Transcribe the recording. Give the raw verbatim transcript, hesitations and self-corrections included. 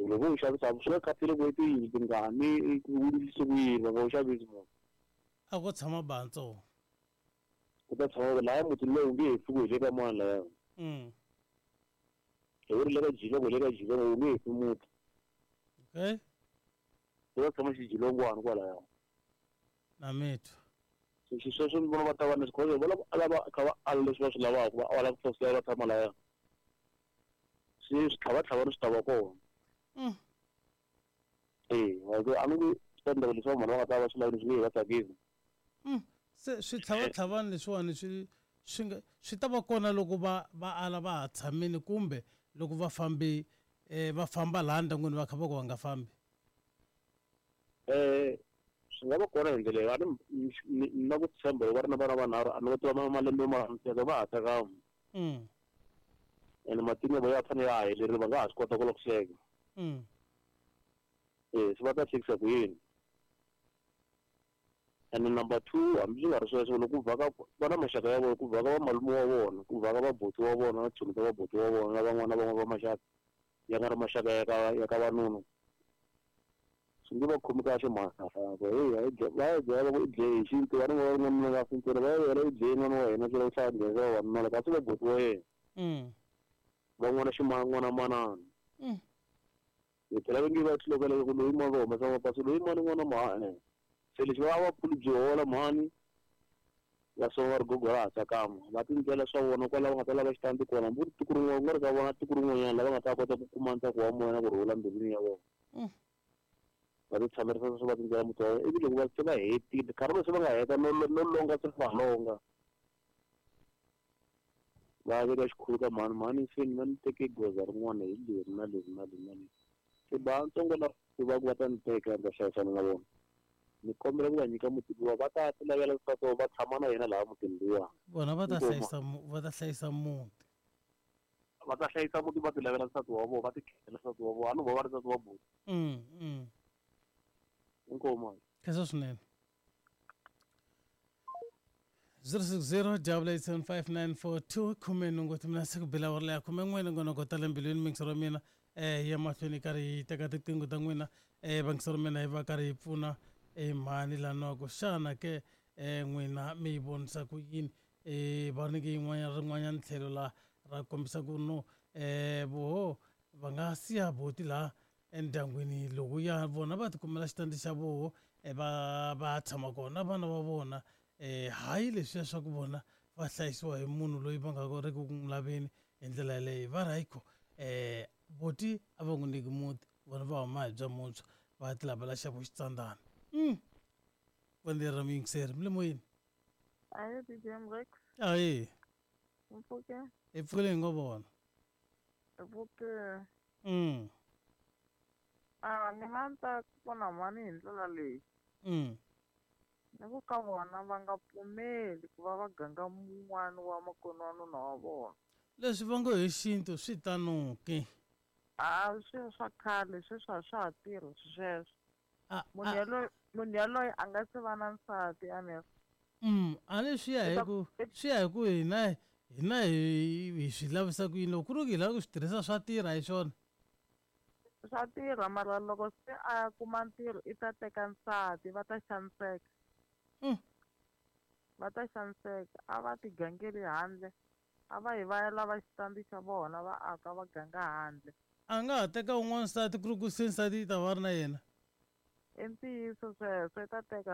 Loko u xavisa swi nga khathali ku i tiyindlu tingani ku endlise ku yini va nga wu xavisi munhu. A ko tshama bantsongo. Ku ta tshama laya mutini lowu nge he pfuki hi le ka mani laya. Mm. Hi ri le ka Jilongo le ka Jilongo wu nge he fi muti. Okay. Ku ta tshama xijilongwana kwalaya. Na mitwa. So xisweswo ni vona va ta va na xikhozo va lava lava kha va ala leswi va swi lavaka va ala ku fosela va tshama laya. Swi switlhavatlhavani swi ta va kona. Mm. Eh, a ni nge swi ta endleka leswi vanhu va nga ta va swi lavini swi nge he va tsakisi. Mm. Se switlhavatlhavani leswiwani swi swi nga swi ta va kona loko va va ala va ha tshamile kumbe loko va fambi eh va famba laha ndyangwini va kha va ku va nga fambi. Eh swi nga va kona hi ndlela leyi a ni ni na ku tshemba loko va ri na vana vanharhu a ni va tiva malembe ma teka va ha tsakama. Mm. Ene matimu ya vona ya fanele ya ha helerile va nga ha swi kota ku lava ku hleka. Mm. Eh swi va ta hlekisa ku yini. And number two hambi swi nga ri sweswo loko ku vhaka va na maxaka ya vona ku vhaka va malume wa vona ku vhaka vabuti wa vona na tichomi ta vabuti wa vona na van'wana na van'wana va maxaka ya nga ri maxaka ya ka ya ka vanuna. Swi nge va khomi kahle mhaka heyi va ya byela va ku i dlaye hi xintu va ri va ri n'wanuna nga fi ntsena va ya byela i dlaye n'wana wa hina tlhela u tlhela nghenisa vavanuna la kasi vabuti wa yena. Mm. Van'wana ximan'wana manana. Mm. Hi phela va nge va tlulokela ku loyi mani va humesa mapasi loyi mani n'wana ma e. Se lexi va va phuli byi hola mhani va swa va ri gogo ra ha tsakama va tindlela swa vona kwala va nga ta lava xitandi kona hambi ku ri tiko rin'wana ku nga ri ka vona tiko rin'wanyana lava nga ta kota ku kuma ntsako wa moya na ku rhula mbilwini ya vona. Mm. Va ti tshamerisa swo va tindlela muti wa vona ivi loko va se va hetile nkarhi lowu se va nga heta no no longa se va longa. Va veka xikhulu ka mhani mhani se ni va ni teke goza rin'wana hi leri na leri na leri na leri. Se bantsongo lava va ku va ta ni teka ni ta hlayisana na vona. Ni kombela ku va nyika muti luwa va ta ti lavela nsati wa va tshama na yena laha mutini luwa. Vona va ta Inkomu. hlayisa va ta hlayisa muti. Va ta hlayisa muti va ti lavela nsati wa vona va ti khela nsati wa vona a ni vo va ri nsati wa buti. Mm, mm. Inkomu. Khensa swinene. zero six zero double eight seven five nine four two khume nhungu timina siku bila awara leya khume n'we nongonoko ta le mbilwini mingisero wa mina eh ya mahlweni karhi yi teka tiqingho ta n'wina eh vangisero mina yi va karhi yi pfuna eh mhani lanoku xana ke eh n'wina mi yi vonisa ku yini eh va nyike yin'wanyana rin'wanyana tlhelo la ra kombisa ku no eh voho va nga siya buti laha endyangwini loko ya vona va tikumela xitandi xa voho va va tshama kona vana va vona eh hayi leswiya swa ku vona va hlayisiwa hi munhu loyi va nga ri ku n'wi laveni hi ndlela yaleyo va ri hayikho eh buti a va n'wi nyiki muti vona va huma hi bya muntshwa va ti lavela xa vo xitsandzana. Mm. Vonelo ra muyingiseri mi le moyeni. Ahe D J Mrex. Ahe. Mpfuke. Hi pfukile hi ngo vona. Mpfuke. Mm. Ah, ni nga ta pfuna mhani hi ndlela leyi. Mm. Ni ku ka vona va nga pfumeli ku va va ganga mun'wana wa makwenu wa nuna wa vona. Leswi va ngo hi xintu swi tano ke. A swi swa khale sweswi a swa ha tirhi sweswo. A Munhu yaloye munhu yaloye a nga se va na nsati a ni. Mm, a ni swi ya hi ku swi ya hi ku hina hina hi hi swi lavisa ku yini loko ku ri ku hi lava ku swi tirhisa swa tirha hi swona. Swa tirha mara loko se a kuma ntirho i ta teka nsati va ta xaniseka. Mm. Va ta xaniseka a va ti gangeli handle a va hi va ya lava xitandi xa vona va aka va ganga handle. A nga ha teka un'wana nsati ku ri ku se nsati yi ta va ri na yena. I ntiyiso sweswo i ta teka